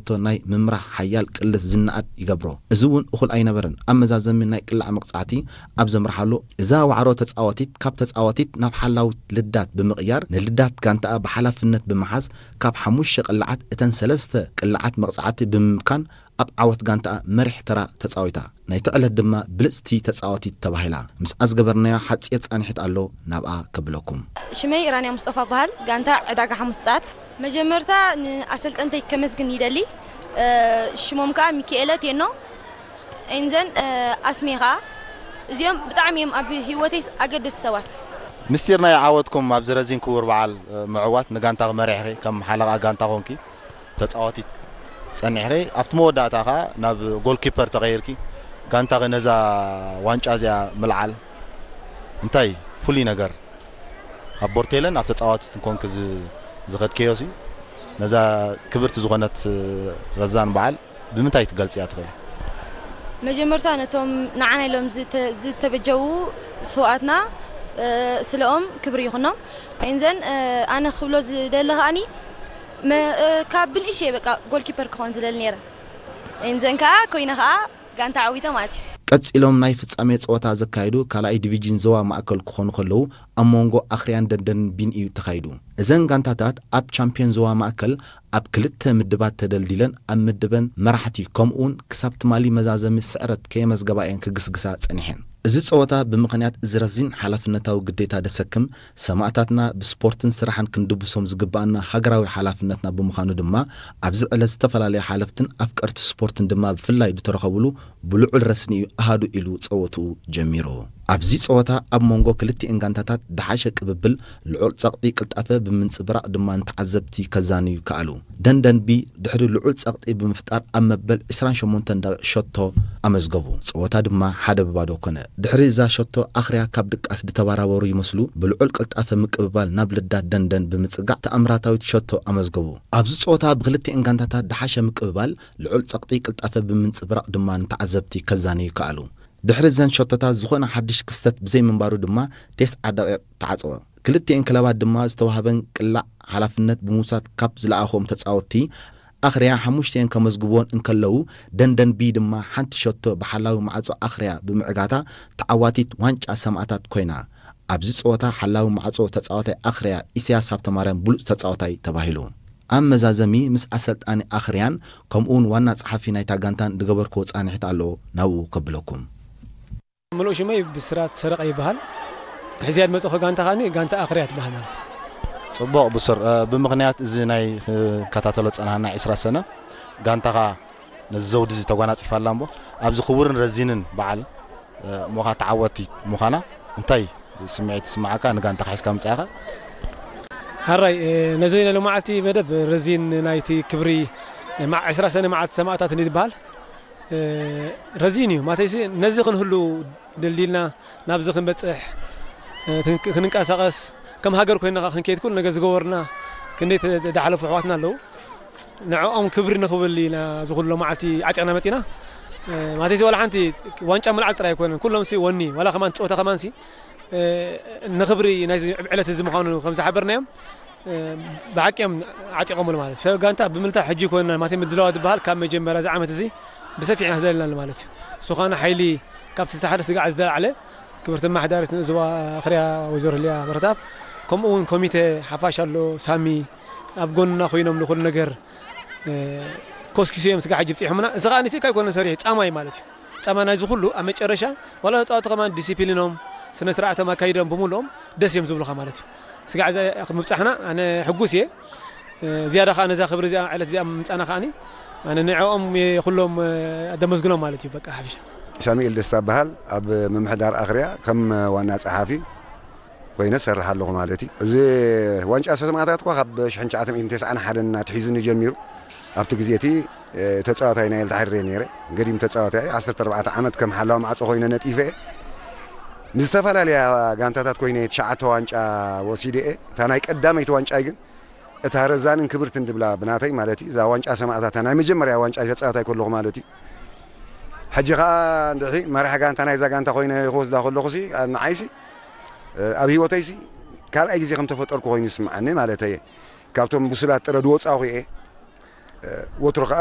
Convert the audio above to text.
ዝሓቶ ናይ ምምራሕ ሓያል ቅልስ ዝነኣድ ይገብሮ። እዚ እውን እኹል ኣይነበረን። ኣብ መዛዘሚ ናይ ቅላዕ መቕጻዕቲ ኣብ ዘምርሓሉ፣ እዛ ዋዕሮ ተጻዋቲት ካብ ተጻዋቲት ናብ ሓላዊት ልዳት ብምቕያር፣ ንልዳት ጋንታኣ ብሓላፍነት ብምሓዝ፣ ካብ ሓሙሽተ ቅላዓት እተን ሰለስተ ቅላዓት መቕጻዕቲ ብምምካን፣ ኣብ ዓወት ጋንታኣ መሪሕ ተራ ተጻዊታ። ናይቲ ዕለት ድማ ብልጽቲ ተጻዋቲት ተባሂላ። ምስኣ ዝገበርናዮ ሓጺር ጻንሒት ኣሎ፣ ናብኣ ከብለኩም። ሽመይ ኢራንያ ሙስጠፋ በሃል፣ ጋንታ ዕዳጋ ሓሙስ ጸዓት። መጀመርታ ንኣሰልጠንተይ ከመስግን ይደሊ። እ፣ ሽሞም ከኣ ሚካኤለ ቴኖ፣ ኤንዘን፣ እ፣ ኣስሜ ከኣ። እዚኦም ብጣዕሚ እዮም ኣብ ህይወተይ ኣገደስቲ ሰባት። ምስጢር ናይ ዓወትኩም ኣብዚ ረዚን ክቡር በዓል፣ እ፣ ምዕዋት፣ ንጋንታኺ መሪሕኺ፣ ከም ሓለቓ ጋንታ ኮንኪ፣ ተጻዋቲት ጸኒሕኺ፣ ኣብቲ መወዳእታ ከኣ ናብ ጎልኪፐር ተቐይርኪ፣ ጋንታኺ ነዛ ዋንጫ እዚኣ ምልዓል እንታይ ፍሉይ ነገር ኣብ ቦርቴለን ኣብ ተጻዋቲትን ኮንኪ ዝ-፣ ዝኸድክዮሲ፣ ነዛ ክብርቲ ዝኾነት ረዛን በዓል ብምንታይ ትገልጽያ ትኽእሊ? መጀመርታ ነቶም ንዓና ኢሎም ዝተ-፣ ዝተበጀዉ ስውኣትና፣ እ፣ ስለኦም ክብሪ ይኹኖም። ኤንዘን፣ እ፣ ኣነ ክብሎ ዝደሊ ከኣኒ፣ መ-፣ እ፣ ካብ ብንእሽተይ በቃ ጎልኪፐር ክኸውን ዝደሊ ነይረ። ኤንዘን ከኣ ኮይነ ከኣ ጋንታ ዓዊተ ማለት እዩ። ቀጺሎም ናይ ፍጻሜ ጸወታ ዘካየዱ ካልኣይ ዲቪዥን ዞባ ማእከል ክኾኑ ከለዉ፣ ኣብ መንጎ ኣኽርያን ደንደን ቢን እዩ ተኻይዱ። እዘን ጋንታታት ኣብ ቻምፒዮን ዞባ ማእከል ኣብ ክልተ ምድባት ተደልዲለን፣ ኣብ ምድበን መራሕቲ፣ ከምኡውን ክሳብ ትማሊ መዛዘሚ ስዕረት ከየመዝገባ እየን ክግስግሳ ጸኒሐን። እዚ ጸወታ ብምኽንያት እዚ ረዚን ሓላፍነታዊ ግዴታ ደሰክም፣ ሰማእታትና ብስፖርትን ስራሕን ክንድብሶም ዝግባኣና ሃገራዊ ሓላፍነትና ብምዃኑ ድማ፣ ኣብዚ ዕለት ዝተፈላለዩ ሓለፍትን ኣፍቀርቲ ስፖርትን ድማ ብፍላይ ዝተረኸብሉ ብልዑል ረስኒ እዩ ኣሃዱ ኢሉ ጸወትኡ ጀሚሩ። ኣብዚ ጸወታ ኣብ መንጎ ክልቲኤን ጋንታታት ደሓሸ ቅብብል፣ ልዑል ጸቕጢ ቅልጣፈ ብምንጽብራቕ ድማ ንተዓዘብቲ ከዛንዩ ከኣሉ። ደንደንቢ ድሕሪ ልዑል ጸቕጢ ብምፍጣር ኣብ መበል ዕስራን ሸሞንተን ደቂቕ ሸቶ ኣመዝገቡ። ጸወታ ድማ ሓደ ብባዶ ኮነ። ድሕሪ እዛ ሸቶ ኣኽርያ ካብ ድቃስ ዝተባራበሩ ይመስሉ ብልዑል ቅልጣፈ ምቅብባል ናብ ልዳት ደንደን ብምጽጋዕ ተኣምራታዊት ሸቶ ኣመዝገቡ። ኣብዚ ጸወታ ብክልቲኤን ጋንታታት ደሓሸ ምቅብባል፣ ልዑል ጸቕጢ ቅልጣፈ ብምንጽብራቕ ድማ ንተዓዘብቲ ከዛንዩ ከኣሉ። ድሕሪ እዘን ሸቶታት ዝኾነ ሓድሽ ክስተት ብዘይምንባሩ ድማ ተስዓ ደቂቕ ተዓጸወ። ክልቲኤን ክለባት ድማ ዝተዋህበን ቅላዕ ሓላፍነት ብምውሳድ ካብ ዝለኣኹዎም ተጻወትቲ ኣኽርያ ሓሙሽተኤን ከመዝግብወን እንከለዉ፣ ደንደን ቢ ድማ ሓንቲ ሸቶ ብሓላዊ ማዕጾ ኣኽርያ ብምዕጋታ ተዓዋቲት ዋንጫ ሰማእታት ኮይና። ኣብዚ ጸወታ ሓላዊ ማዕጾ ተጻዋታይ ኣኽርያ ኢሳያስ ሃብተማርያም ብሉጽ ተጻዋታይ ተባሂሉ። ኣብ መዛዘሚ ምስ ኣሰልጣኒ ኣኽርያን ከምኡውን ዋና ጸሓፊ ናይታ ጋንታን ዝገበርክዎ ጻንሒት ኣሎ፣ ናብኡ ከብለኩም። ምሉእ ሽመይ ብስራት ሰረቐ ይበሃል። ሕዝያ ዝመጽእኹ ጋንታ ከኣኒ ጋንታ ኣኽርያ ትበሃል ማለት እዩ። ጽቡቕ ብሱር፣ እ፣ ብምኽንያት እዚ ናይ ክከታተሎ ጸናህና ዕስራ ሰነ ጋንታኻ ነዚ ዘውዲ እዚ ተጓናጺፋ ኣላ እምቦ፣ ኣብዚ ክቡርን ረዚንን በዓል፣ እ፣ እሞኻ ተዓወቲ ምዃና እንታይ ስምዒት ይስምዓካ? ንጋንታኻ ሒዝካ ምጻእኻ? ሓራይ፣ እ፣ ነዚ ናይ ሎማዓልቲ መደብ ረዚን ናይቲ ክብሪ፣ እ፣ ማ-፣ ዕስራ ሰነ መዓልቲ ሰማእታት እንዲ ዝበሃል፣ እ፣ ረዚን እዩ። ማለተይሲ ነዚ ክንህሉ ደልዲልና ናብዚ ክንበጽሕ፣ እ፣ ክንቅ-፣ ክንንቀሳቐስ፣ ከም ሃገር ኮይና ክንከይድ ኩሉ ነገር ዝገበሩና ክንደይ ተ-፣ ዝሓለፉ ኣሕዋትና ኣለዉ። ንዕኦም ክብሪ ንኽብል ኢና እዚ ኩሉ መዓልቲ ዓጢቕና መጺና። እ፣ ማለተይሲ ዋላ ሓንቲ ዋንጫ ምልዓል ጥራይ ኣይኮነን። ኩሎምሲ ወኒ፣ ዋላ ከማን ጸወታ ከማንሲ፣ እ፣ ንኽብሪ ናይዚ ዕለት እዚ ምዃኑ ከም ዝሓበርናዮም፣ እ፣ ብሓቂ እዮም ዓጢቖምሉ ማለት እዩ። ሰብ ጋንታ ብምልታ ሕጂ ይኮንና ማለት እዩ፣ ምድላዋት ዝበሃል ካብ መጀመርያ እዚ ዓመት እዚ ብሰፊሕ ኢና ተደሊና ማለት እዩ። እሱ ኸኣ ሓይሊ ካብቲ ዝተሓደ ስጋዕ ዝተላዕለ ክብርቲ ኣመሓዳሪት ንዞባ ኣኽርያ ወይዘሮ ህልያ በረታብ፣ ከምኡ እውን ኮሚቴ ሓፋሽ ኣሎ፣ ሳሚ ኣብ ጎንና ኮይኖም ንኹሉ ነገር፣ እ፣ ኮስኪሶም ስጋዕ ሕጂ ብፂሖምና። እዚ ኸኣ ንስካ ኣይኮነን ሰሪሑ፣ ጻማ እዩ ማለት እዩ። ጻማ ናይዚ ኩሉ ኣብ መጨረሻ ዋላ ተጻወቲ ከማን ዲሲፕሊኖም፣ ስነ ስርዓቶም ኣካይዶም ብምልኦም ደስ እዮም ዝብሉኻ ማለት እዩ። ስጋዕ እዛ ምብጻሕና ኣነ ሕጉስ እየ። ዝያዳ ከኣ ነዛ ክብሪ እዚኣ፣ ዕለት እዚኣ ምምጻእና ከኣኒ ኣነ ንዕኦም እየ ኩሎም፣ እ፣ ደመስግኖም ማለት እዩ። በቃ ሓፊሻ። ሳሙኤል ደስታ እበሃል። ኣብ ምምሕዳር ኣኽርያ ከም ዋና ጸሓፊ ኮይነ እሰርሕ ኣለኹ ማለት እዩ። እዚ ዋንጫ ሰማእታት እኳ ካብ ሽሕን ትሽዓተ ሚእትን ተስዓን ሓደን ኣትሒዙኒ ጀሚሩ። ኣብቲ ግዜ እቲ፣ እ፣ ተጻዋታይ ናይ ኤልታ ሕድሪ ነይረ። ገዲም ተጻዋታይ ዓሰርተ ኣርባዕተ ዓመት ከም ሓላዊ ማዕጾ ኮይነ ነጢፈ እየ። ምስ ዝተፈላለያ ጋንታታት ኮይነ ትሽዓተ ዋንጫ ወሲደ እየ። እታ ናይ ቀዳመይቲ ዋንጫይ ግን እታ ረዛንን ክብርትን ድብላ ብናተይ ማለት እዩ። እዛ ዋንጫ ሰማእታት ናይ መጀመርያ ዋንጫ ተጻዋታይ ከለኹ ማለት እዩ። ሕጂ ኸኣ እንድሒ መራሕ ጋንታ ናይዛ ጋንታ ኮይነ ክወስዳ ከለኹሲ፣ ንዓይሲ፣ እ፣ ኣብ ህይወተይሲ ካልኣይ ግዜ ከም ተፈጠርኩ ኮይኑ ይስምዓኒ ማለት እየ። ካብቶም ብሱላት ጥረ ዝወጻኹ እየ። እ፣ ወትሩ ከኣ